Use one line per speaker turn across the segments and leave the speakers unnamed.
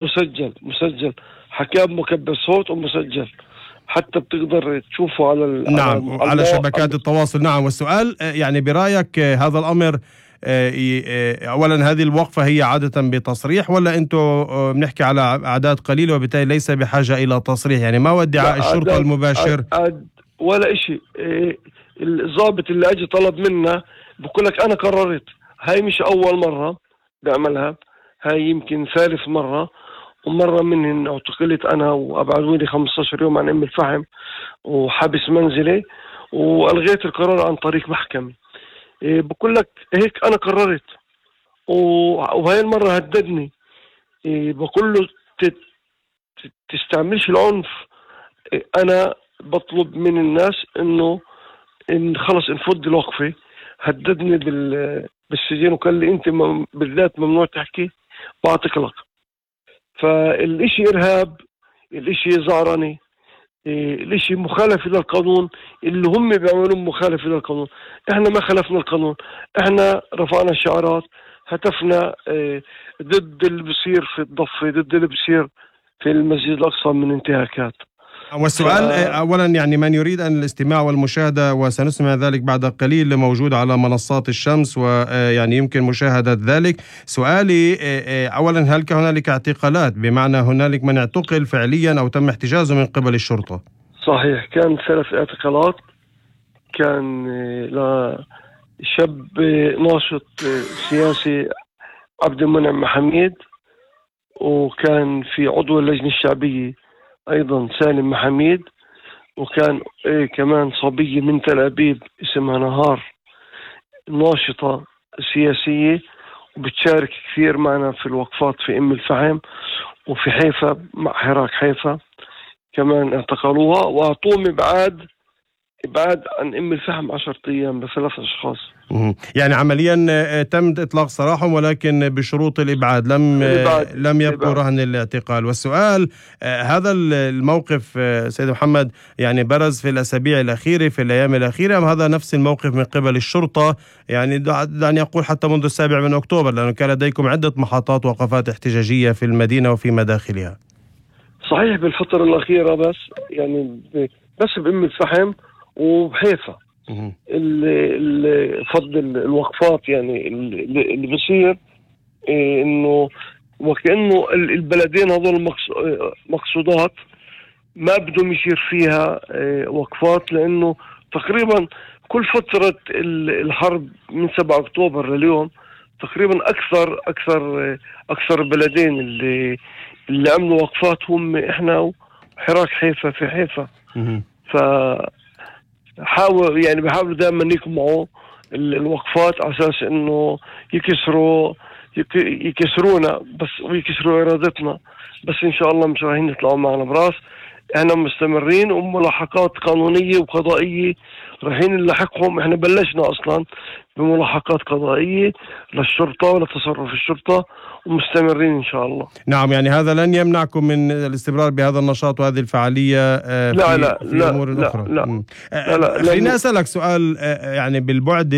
مسجل حكاه بمكبر صوت ومسجل، حتى بتقدر تشوفه على
نعم على شبكات التواصل. نعم. والسؤال يعني برأيك هذا الأمر أولا هذه الوقفة هي عادة بتصريح ولا أنتم بنحكي على أعداد قليلة وبالتالي ليس بحاجة إلى تصريح؟ يعني ما هو ادعاء الشرطة المباشر؟
ولا إشي. الضابط اللي أجي طلب منا بقولك أنا قررت، هاي مش أول مرة بعملها، هاي يمكن ثالث مرة، ومرة منهن اعتقلت أنا وأبعدوني 15 يوم عن أم الفحم وحبس منزلي وألغيت القرار عن طريق محكمة. بقول لك هيك أنا قررت، وهاي المرة هددني. بقول له تستعملش العنف. أنا بطلب من الناس إنه خلص نفض الوقفة. هددني بالسجن وقال لي أنت بالذات ممنوع تحكي بعتقلك. فالإشي إرهاب، الإشي زعرني، الإشي مخالفة للقانون. اللي هم بيعملون مخالفة للقانون، إحنا ما خالفنا القانون. إحنا رفعنا شعارات، هتفنا ضد اللي بصير في الضفة، ضد اللي بصير في المسجد الأقصى من انتهاكات.
والسؤال أولا يعني من يريد أن الاستماع والمشاهدة، وسنسمع ذلك بعد قليل، موجود على منصات الشمس ويعني يمكن مشاهدة ذلك. سؤالي أولا هل هنالك اعتقالات، بمعنى هنالك من اعتقل فعليا أو تم احتجازه من قبل الشرطة؟
صحيح، كان 3 اعتقالات. كان لشاب ناشط سياسي عبد المنعم محميد، وكان في عضو اللجنة الشعبية أيضا سالم محميد، وكان كمان صبية من تل أبيب اسمها نهار، ناشطة سياسية وبتشارك كثير معنا في الوقفات في أم الفحم وفي حيفا مع حراك حيفا. كمان اعتقلوها وأعطوهم إبعاد عن أم الفحم 10 أيام ل3 أشخاص.
يعني عمليا تم إطلاق سراحهم ولكن بشروط الإبعاد، لم يبقوا رهن الاعتقال. والسؤال هذا الموقف سيد محمد يعني برز في الأسابيع الأخيرة، في الأيام الأخيرة، أم هذا نفس الموقف من قبل الشرطة؟ يعني دعني أقول حتى منذ 7 أكتوبر، لأنه كان لديكم عدة محطات وقفات احتجاجية في المدينة وفي مداخلها.
صحيح بالفترة الأخيرة، بس يعني بس بأم الفحم وبحيفا فض الوقفات. يعني اللي بصير انه وكأنه البلدين هذول مقصودات ما بدهم يصير فيها وقفات، لانه تقريبا كل فترة الحرب من 7 أكتوبر لليوم تقريبا اكثر البلدين اللي عملوا وقفات هم احنا وحراك حيفا في حيفا. بحاولوا دائما يقمعوا الوقفات على اساس انه يكسرونا بس ويكسروا ارادتنا. بس ان شاء الله مش رايحين يطلعوا معنا براس. احنا مستمرين وملاحقات قانونية وقضائية رايحين نلاحقهم. احنا بلشنا اصلا بملاحقات قضائية للشرطة ولتصرف الشرطة ومستمرين ان شاء الله.
نعم، يعني هذا لن يمنعكم من الاستمرار بهذا النشاط وهذه الفعالية في أمور أخرى؟
لا.
خليني أسألك سؤال يعني بالبعد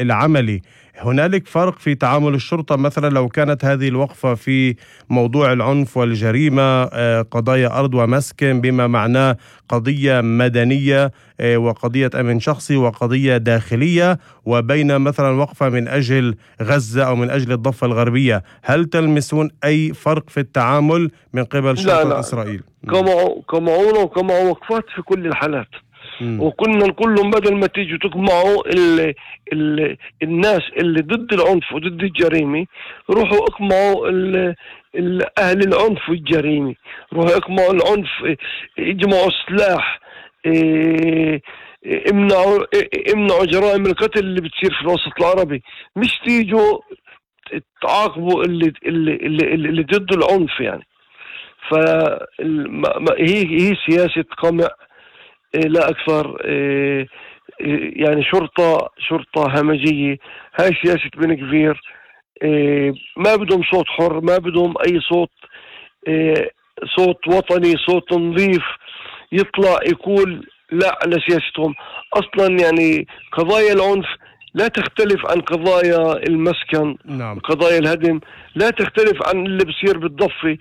العملي، هنالك فرق في تعامل الشرطة مثلا لو كانت هذه الوقفة في موضوع العنف والجريمة، قضايا أرض ومسكن بما معناه قضية مدنية وقضية أمن شخصي وقضية داخلية، وبين مثلا وقفة من أجل غزة أو من أجل الضفة الغربية، هل تلمسون أي فرق في التعامل من قبل شرطة إسرائيل؟
كمعوا وقفات في كل الحالات. وكنا نقول لهم بدل ما تيجوا تقمعوا الناس اللي ضد العنف وضد الجريمة، روحوا اقمعوا أهل العنف والجريمة، روحوا اقمعوا العنف، اجمعوا السلاح، امنعوا جرائم القتل اللي بتصير في الوسط العربي. مش تيجوا تعاقبوا اللي ضد العنف. يعني هي سياسة قمع لا أكثر. يعني شرطة همجية. هاي سياسة بن كفير. ما بدهم صوت حر، ما بدهم أي صوت وطني، صوت نظيف يطلع يقول لا على سياستهم أصلا. يعني قضايا العنف لا تختلف عن قضايا المسكن،
نعم.
قضايا الهدم، لا تختلف عن اللي بصير بالضفة.